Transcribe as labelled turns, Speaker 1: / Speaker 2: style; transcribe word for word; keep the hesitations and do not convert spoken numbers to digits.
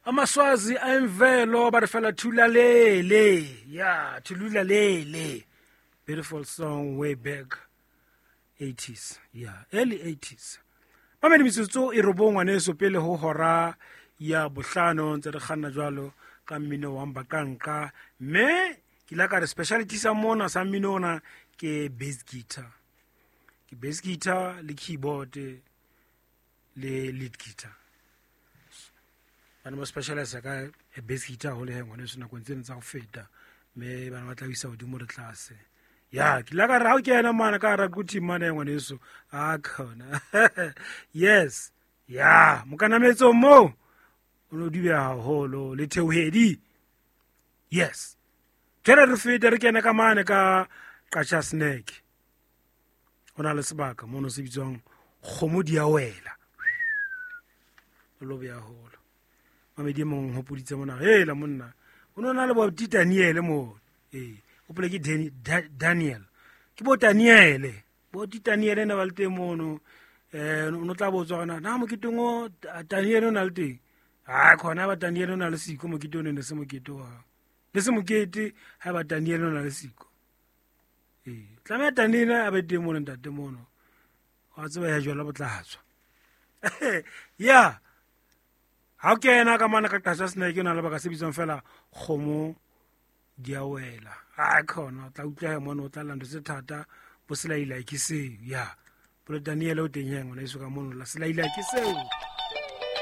Speaker 1: Amaswazi a imvelo ba re fela Thulalele. Yeah, Thulalele. Beautiful song way back eighties. Yeah, early eighties. Mamedi metsotso e robong ngwaneso pele ho hora ya bohlano ntse re kganna jwalo ka mmino wa Mbaqanqa. Mme ke ile ka re speciality sa mona sa mmino ona ke bass guitar. Ke bass guitar le keyboard le lead guitar. Bana ba specialize ka bass guitar haholo he ngwaneso nakong tsena tsa ho feta, mme bana ba tla isa hodimo le tlase. Ya, ke ile ka re ha o kena mane ka hara Quthing mane ngwaneso, a khona. Yes. Ya, mokanametso moo o no dubeha haholo le theohedi. Yes. Jwale re fete re kene ka mane ka Qacha Snack. Ho na le sebaka mono se bitswang Kgomo di a wela. O lo beha haholo. Mamedi e mong hopoditse mona, hela monna, o no na le bo Daniel mo. Eh, hopole ke Daniel. Ke bo Daniel. Bo Daniel ne ba le teng mono. Eh, o no tla botswa hore na moketeng o Daniel o na le teng. Ha khona ba Daniel o na le siko mokete o ne se mokete wa. Le se mokete ha ba Daniel o na le siko. Eh, tlameha Daniel a be teng mono ntate mono. Wa tseba ya jwala bo tla tswa. Yeah. Ha o kena ka mane ka Qacha Snack o na le baka se bitswang fela Kgomo di a wela. Ha khona o tla utlwa mono o tla lla ntho tse thata bo selaila ke seo. Ya. Polo Daniel o teng he ngwana eso ka mono la selaila ke seo.